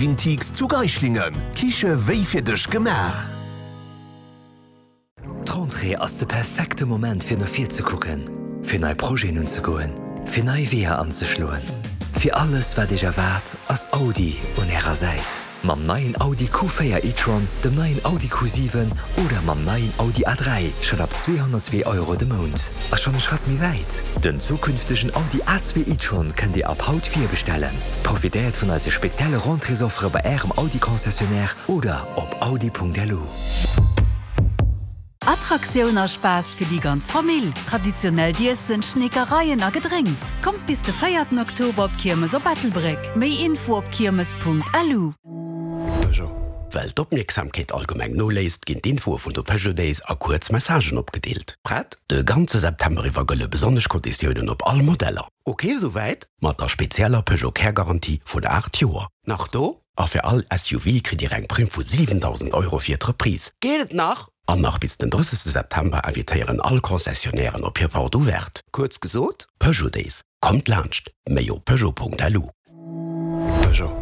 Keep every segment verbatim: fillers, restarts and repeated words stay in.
Vintiques zu Geislingen. Kiche wéi fir dech gemaach. D'Rentrée ass de perfekte Moment fir no vir ze kucken, fir nei Projeten unzegoen, fir nei Weeër anzeschloen. Fir alles wat iech erwaart, ass Audi un ärer Säit. Mam neien Audi Q véier e-tron, dem neien Audi Q siwen oder mam neien Audi A dräi schonn ab zweehonnertzwee Euro de Mount. A schonn e Schratt méi wäit, Den zukünftegen Audi A zwee e-tron kënnt Dir ab haut virbestellen. Profitéiert vun eise spezielle Rentréesoffere bei Ärem Audi-Concessionnaire oder op audi.lu. Attraktioun a Spaass fir déi ganz Famill, traditionellt Iessen, Schneekereien a Gedrénks. Kommt bis de véierten Oktober op d'Kiermes op Ettelbréck. Méi Info op kiermes.lu. Peugeot. Well d'Opmierksamkeet allgemeng noléisst, ginn d'Infoe vun de Peugeot Days a kuerz Messagen opgedeelt. Prett? De ganze September iwwer gëlle besonnesch Konditiounen op all Modeller. Ok souwäit? Mat der spezieller Peugeot Care Garantie vun aacht Joer. Nach do? A fir all S U V kritt Dir eng Primm vu siwendausend Euro fir d'Reprise. Geet et nach? An nach bis den drëssegste September invitéieren all Concessionnairen op hir Porte Ouverte. Kuerz gesot, Peugeot Days. Kommt laanscht. Méi op Peugeot.lu. Peugeot.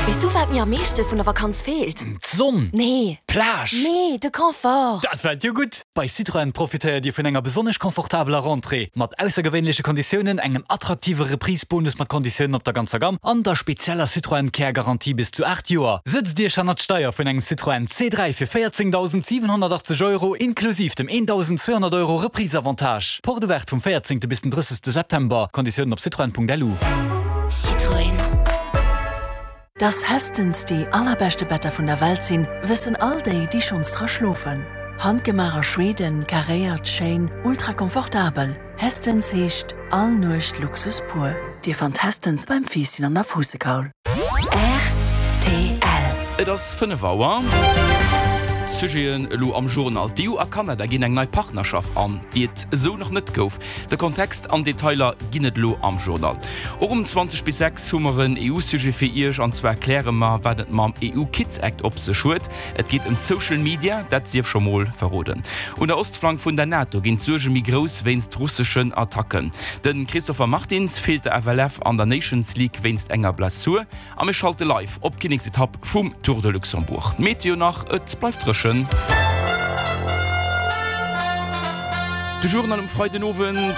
Weess du, wat mir am meeschte vun der Vakanz feelt? D'Sonn! Nee. D'Plage! Nee, de Confort! Dat fält jo gutt! Bei Citroën profitéiert Dir vun enger besonnesch confortabeler Rentrée, mat aussergewéinleche Konditiounen, engem attraktive Reprise-Bonus mat Konditiounen op der ganzer Gamm an der spezieller Citroën Care Garantie bis zu aacht Joer. Sëtzt Iech hannert d'Steier vun engem Citroën C dräi fir véierzéngdausendsiwenhonnertachtzeg Euro inklusiv dem eentausendzweehonnert Euro Reprise-Avantage. Porte ouverte vum véierzéngte bis den drëssegste September. Konditiounen op citroën.lu. Citroën. Dass Hästens déi allerbeschte Better vun der Welt sinn, wëssen all déi, déi schonns dra schlofen. Handgemaach a Schweden, karéiert, schéin, ultra komfortabel. Hästens heescht all Nuecht Luxus pur. Dir fannt Hästens beim Fiisschen an der Fuussekaul. Rtl. Et ass fënnef Auer. Sujeten elo am Journal, D'EU a Kanada ginn eng nei Partnerschaft an, déi et esou nach net gouf. De Kontext an Detailer ginn et elo am Journal. Och um zwanzeg bis sechs hu mer en EU-Sujet fir Iech, an zwar kläre mer, wat et mam E U Kids Act op sech huet. Et geet ëm Social Media, dat sief scho mol verroden. Un der Ostflank vun der NATO ginn d'Suerge méi grouss wéinst russeschen Attacken. De Christopher Martins feelt der F L F an der Nations League wéinst enger Blessur. A mir schalte live op d'Kinneksetapp vum Tour de Luxembourg. D'Meteo nach, Et bleift dréchen. De Journal um Freidenowend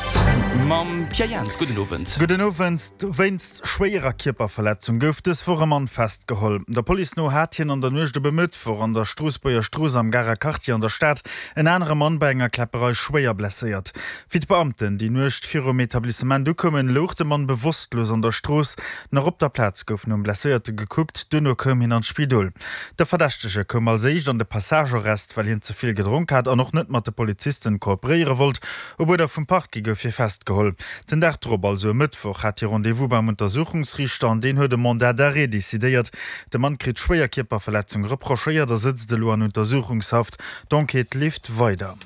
mam Pierre Jans. Gudden Owend. Gudden Owend. Wéinst schwéierer Kierperverletzung gouf dës Woch e Mann festgeholl. Der Police no hat hien an der Nuecht op e Mëttwoch an der Stroossbuerger Strooss am Garer Quartier an der Stad en anere Mann bei enger Kläpperei schwéier blesséiert. Wéi d'Beamten déi Nuecht virum Etablissement ukoumen, louch de Mann bewosstlos an der Strooss. Nach op der Plaz gouf nom Blesséierte gekuckt, duerno koum hien an d'Spidol. De Verdächtege koum als éischt an de Passagearrest, well hien ze vill gedronk hat an och net mat de Polizisten kooperéiere wollt. Op Uerder vum Parquet gouf hie festgeholl. Den Dag drop, also e Mëttwoch, hat hie Rendez-vous beim Untersuchungsriichter an deen huet e Mandat d'arrêt decidéiert. De Mann kritt schwéier Kierperverletzung reprochéiert a sëtzt elo an Untersuchungshaft. D'Enquête leeft weider.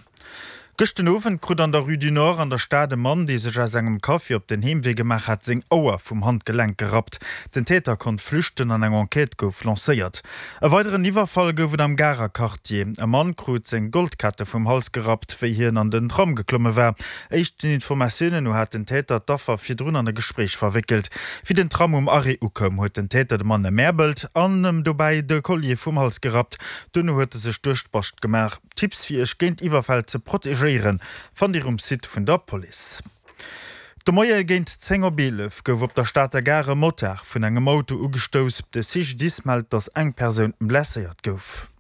Gëscht den Owend krut an der Rue du Nord an der Stad e Mann, dee sech aus engem Café op den Heemwee gemaach hat, seng Auer vum Handgelenk gerappt. Den Täter konnt flüchten an eng Enquête gouf lancéiert. E weideren Iwwerfall gouf et am Garer Quartier. E Mann krut seng Goldkette vum Hals gerappt, wéi hien an den Tram geklomme war. Éischten Informatiounen no hat den Täter d'Affer virdrun an e Gespréich verwéckelt. Wéi den Tram um Arrêt ukoum, huet den Täter de Mann emäerbelt an em dobäi de Collier vum Hals gerappt. Duerno huet e sech duerch d'Bascht gemaach. Tipps fir iech géint Iwwerfäll ze protegéieren, fannt dir um Site vun der Police. De Moie géint zéng op eelef gouf op der Stater Gare e Motard vun engem Auto ugestouss. De C G D I S mellt, datt eng Persoun blesséiert gouf.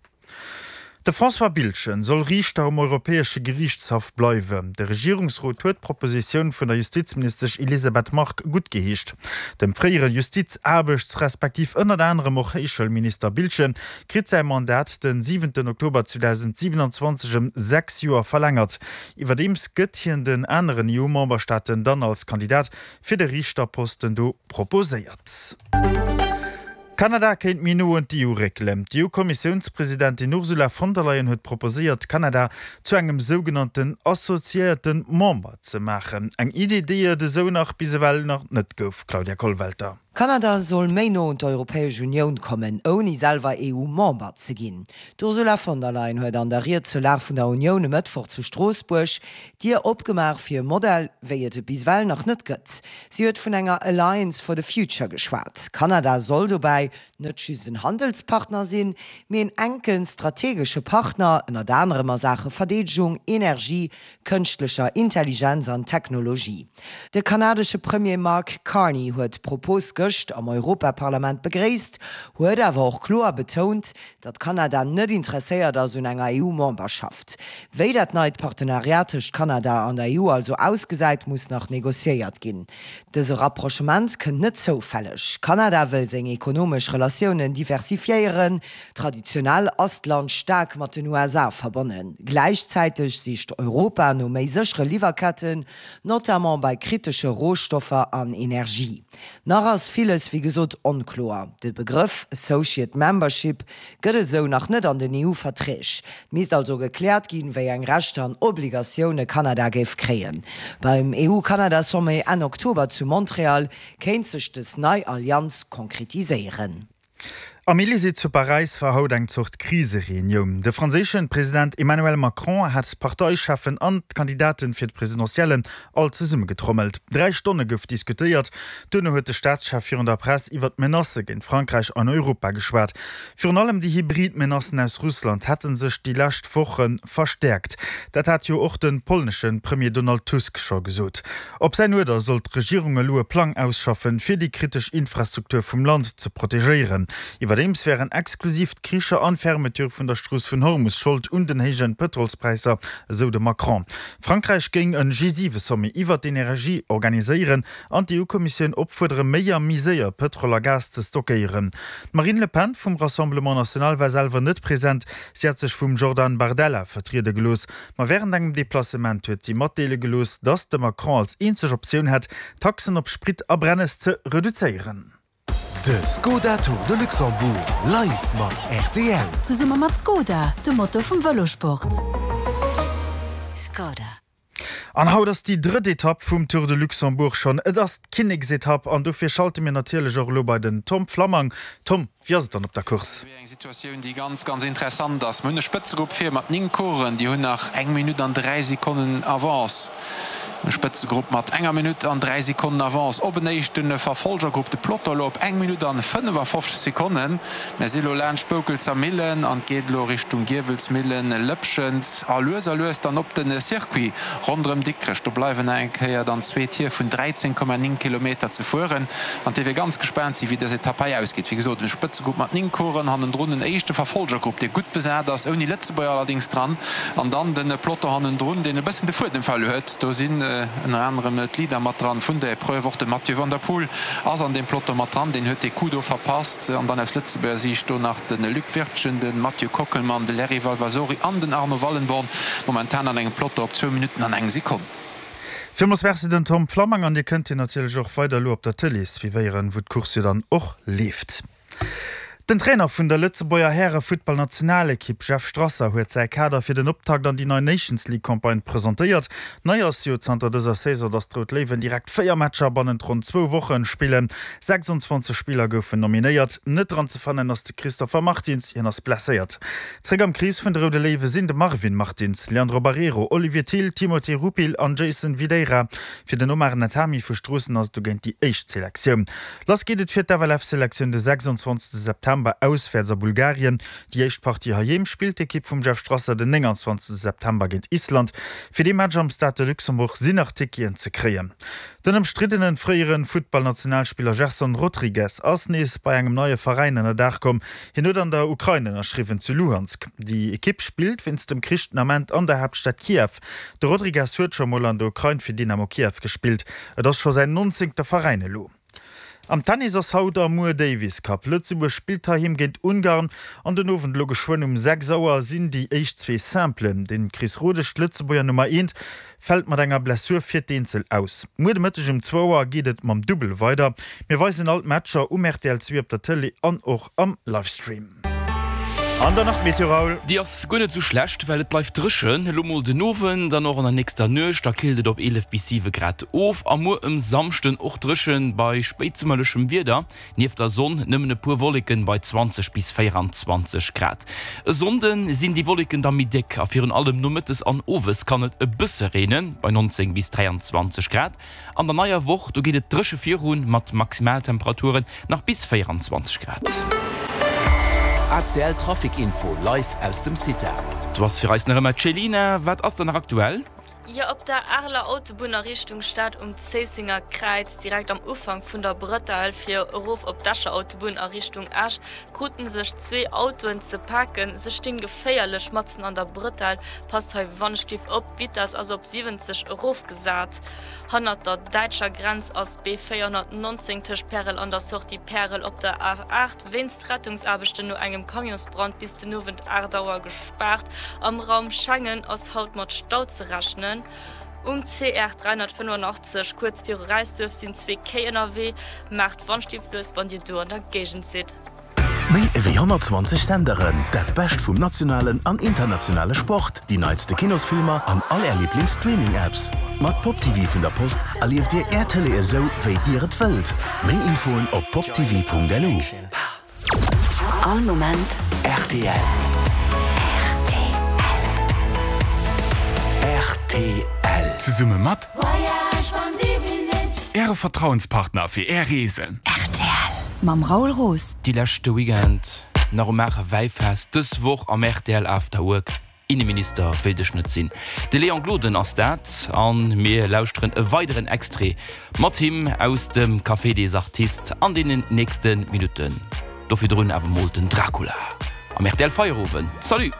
De François Biltgen soll Riichter um Europäesche Geriichtshaff bleiwen. De Regierungsrot huet d'Propositioun vun der Justizministesch Elisabeth Margue guttgeheescht. Dem fréiere Justiz-, Aarbechts-, respektiv ënnert anerem och Héichschoulminister Biltgen kritt säi Mandat den siwenten Oktober zweedausendsiewenundzwanzeg ëm sechs Joer verlängert. Iwwerdeems gëtt hien den aneren E U-Memberstaaten dann als Kandidat fir de Riichterposten do proposéiert. Kanada kéint méi no un d'E U réckelen. D'E U-Kommissiounspresidentin Ursula von der Leyen huet proposéiert, Kanada zu engem sougenannten assoziéierte Member ze maachen. Eng Idee, déi et esou nach bis ewell nach net gouf. Claudia Kollwelter. Kanada soll méi no un d'Europäesch Unioun kommen, ouni selwer EU-Member ze ginn. D'Ursula von der Leyen huet an der Ried zur Lag vun der Unioun e Mëttwoch zu Stroossbuerg d'Dier opgemaach fir e Modell, wéi et e bis ewell nach net gëtt. Si huet vun enger Alliance for the Future geschwat. Kanada soll dobäi net just en Handelspartner sinn, mee en enke strategesche Partner, ënnert anerem a Saache Verdeedegung, Energie, kënschtlecher Intelligenz an Technologie. De kanadesche Premier Mark Carney huet d'Propos gëscht am Europaparlament begréisst, huet awer och kloer betount, datt Kanada net interesséiert ass un enger EU-Memberschaft. Wéi dat neit Partenariat tëscht Kanada an der EU also ausgesäit, muss nach negociéiert ginn. Dëse Rapprochement kënnt net zoufälleg. Kanada wëll seng ekonomesch Relatiounen diversifiéieren. Traditionell ass d'Land staark mat den USA verbonnen. Gläichzäiteg sicht Europa no méi séchere Liwwerketten, notamment bei kritesche Rohstoffer an Energie. Nach ass villes wéi gesot onkloer. De Begrëff Associate Membership gëtt et esou nach net an den EU-Verträg. Et misst also gekläert ginn, wéi eng Rechter an Obligatioune Kanada géif kréien. Beim EU-Kanada-Sommet Enn Oktober zu Montreal kéint sech dës nei Allianz konkretiséieren. Am Elysée zu Paräis war haut eng Zort Krisereunioun. De franséische President Emmanuel Macron hat d'Parteicheffen an d'Kandidaten fir d'Presidentiellen all zesummegetrommelt. Dräi Stonne gouf diskutéiert. Duerno huet de Staatschef virun der Press iwwer d'Menacë géint Frankräich an Europa geschwat. Virun allem déi hybrid Menacen aus Russland hätte sech déi lescht Woche verstäerkt. Dat hat jo och de polnesche Premier Donald Tusk scho gesot. Op säin Uerder soll d'Regierung elo e Plang ausschaffen, fir déi kritesch Infrastruktur vum Land ze protegéieren. Iwwerdeems wären exklusiv d'Kricher an d'Fermeture vun der Strooss vun Hormus Schold un den héijen Pëtrolspräisser, esou de Macron. Frankräich géing en G siwe Sommet iwwert d'Energie organiséieren an d'EU-Kommissioun opfuerdere méi a méi séier Pëtrol a Gas ze stockéieren. D'Marine Le Pen vum Rassemblement National war selwer net present, si hat sech vum Jordan Bardella vertriede gelooss. Ma wärend engem Deplacement huet si matdeele gelooss, datt de Macron als eenzeg Optioun hätt, d'Taxen op Sprit a Brennes ze reduzéieren. De Skoda Tour de Luxembourg live mat rtl. Zesumme mat Skoda, de Motor vum Vëlosport. Skoda. An haut ass déi drëtt Etapp vum Tour de Luxembourg schonn. Et ass d'Kinneksetapp an dofir schalte mir natierlech och elo bei den Tom Flammang. Tom, wéi ass et dann op der Course? Eng Situatioun, déi ganz, ganz interessant ass. Mir hunn e Spëtzegrupp vir mat néng Coureuren, déi hunn nach eng Minutt an dräi Sekonnen Avance. E Spëtzegrupp mat enger Minutt an dräi Sekonnen Avance op en éischte Verfolgergrupp, de Peloton elo op eng Minutt an fënnefafofzeg Sekonnen. Mir si elo laanscht Boukelzer Millen an et geet elo Richtung Giewelsmillen, Lëpschent a lues a lues dann op de Circuit ronderëm Dikrech. Do bleiwen nach eng Kéier dann zwee Tier vun dräizéng Komma néng Kilometer ze fueren an et dierf ee ganz gespaant sinn, wéi dës Etapp hei ausgeet. Wéi gesot, e Spëtzegrupp mat néng Coureuren, hannendrun en éischte Verfolgergrupp, dee gutt besat ass, ouni Lëtzebuerger allerdéngs dran, an dann de Peloton hannendrun, deen e bëssen de Fuedem verluer huet. Do sinn ënner anerem d'Leader mat dran vun der Epreuve, och de Mathieu van der Poel ass an deem Peloton mat dran, deen huet dee Coup do verpasst. An dann aus Lëtzebuerger Siicht do nach de Luc Wirtgen, de Mathieu Kockelmann, de Larry Valvasori an den Arno Wallenborn, momentan an engem Peloton op zwou Minutten an eng Sekonn. Villmools Merci den Tom Flammang an Dir kënnt hien natierlech och weider elo op der Tëlee suivéieren, wou d'Course jo dann och leeft. Den Trainer vun der Lëtzebuerger Häre-Futtballnationalekipp Jeff Strasser huet säi Kader fir den Optakt an déi nei Nations League Campagne presentéiert. Nei ass jo zanter dëser Saison, datt d'Rout Léiwen direkt véier Matcher bannent ronn zwou Woche spillen. sechsundzwanzeg Spiller goufen nominéiert. Net dran ze fannen ass de Christopher Martins, hien ass blesséiert. Zréck am Krees vun de Roude Léiwe sinn de Marvin Martins, Leandro Barreiro, Olivier Thill, Timothé Rupil an Jason Videira. Fir den Omar Natami vu Stroossen ass et dogéint déi éischt Selektioun. Lass geet et fir d'FLF-Selektioun de sechsundzwanzegste September auswäerts a Bulgarien. Déi éischt Partie heiheem spillt d'Ekipp vum Jeff Strasser den nénganzwanzegste September géint Island. Fir dee Match am Stade de Luxembourg sinn nach Ticketen ze kréien. Den ëmstriddene fréiere Futtballnationalspiller Gerson Rodrigues ass nees bei engem neie Veräin ënner Daach komm. Hien huet an der Ukrain ënnerschriwwen, zu Luhansk. Déi Ekipp spillt wéinst dem Krich den Ament an der Haaptstad Kiew. De Rodrigues huet scho mol an der Ukrain fir Dynamo Kiew gespillt. Et ass scho säin nonzéngte Veräin elo. Am Tennis ass haut a muer Davis Cup. Lëtzebuerg spillt heiheem géint Ungarn an den Owend elo geschwënn um sechs Auer sinn déi éischt zwee Simplen. Den Chris Rodesch, d'Lëtzebuerger Nummer eent, fält mat enger Blessur fir d'Eenzel aus. Muer de Mëtteg um zwou Auer geet et mam Dubbel weider. Mir weisen all d'Matcher um rtl zwee op der Tëlee an och am Livestream. An dann nach d'Meteo, Raoul. Déi ass guer net esou schlecht, well et bleift dréchen. Elo mol den Owend an och an der nächster Nuecht, da killt et op eelef bis siwe Grad of. A muer um Samschden och dréchen bei spéitsummerlechem Wieder, nieft der Sonn nëmmen e puer Wolleken bei zwanzeg bis véieranzwanzeg Grad. E Sonnde sinn déi Wolleken da méi déck a virun allem nomëttes an owes kann et e bësse reenen, bei neunzéng bis dräianzwanzeg Grad. An der neier Woch, do geet et dréche virun, mat Maximaltemperaturen nach bis véieranzwanzeg Grad. A C L Trafic Info live aus dem CITA. Do ass fir eis nach ëmmer d'Chelina. Wat ass dann nach aktuell? Jo, op der Areler Autobunn a Richtung Stad um Zéissenger Kräiz, direkt am Ufank vun der Brëtell fir erof op d'Escher Autobunn a Richtung Esch, kruten sech zwee Autoen ze paken. Se stinn geféierlech matzen an der Brëtell. Passt hei wannechgelift op, d'Vitess ass op siwwenzeg erofgesat. Hannert der däitscher Grenz ass d'B véierhonnertnonzéng tëscht Pärel an der Sortie Pärel op der A aacht wéinst Rettungsaarbechten no engem Camionsbrand bis den Owend aacht Auer gespaart. Am Raum Schengen ass haut mat Stau ze rechnen. Um C R dräihonnertfënnefenachtzeg kuerz viru Räisduerf sinn zwee Kéi ënnerwee. Maacht Wandstiff lues wann dir do an der Géigend sidd. Méi ewéi honnertzwanzeg Senderen, dat Bescht vum nationalen an internationale Sport, déi neitste Kinosfilmer an all Är Liiblings-Streaming-Apps. Mat Pop T V vun der Post erlieft Dir Är Tëlee esou, wéi Dir et wëllt. Méi Infoen op poptv Punkt L U. All Moment R T L. R T L. Zesumme mat Äre Vertrauenspartner fir Är Reesen. Mam Raoul Roos. Déi leschte Weekend nach um Maacher Wäifest, dës Woch am R T L After Work. Inneminister wéilt ech net sinn. De Léon Gloden ass dat an mir lauschteren e weideren Extrait mat him aus dem Café des Artistes an deenen nächste Minutten. Do virdrun awer mol den Dracula am R T L Feierowend. Salut!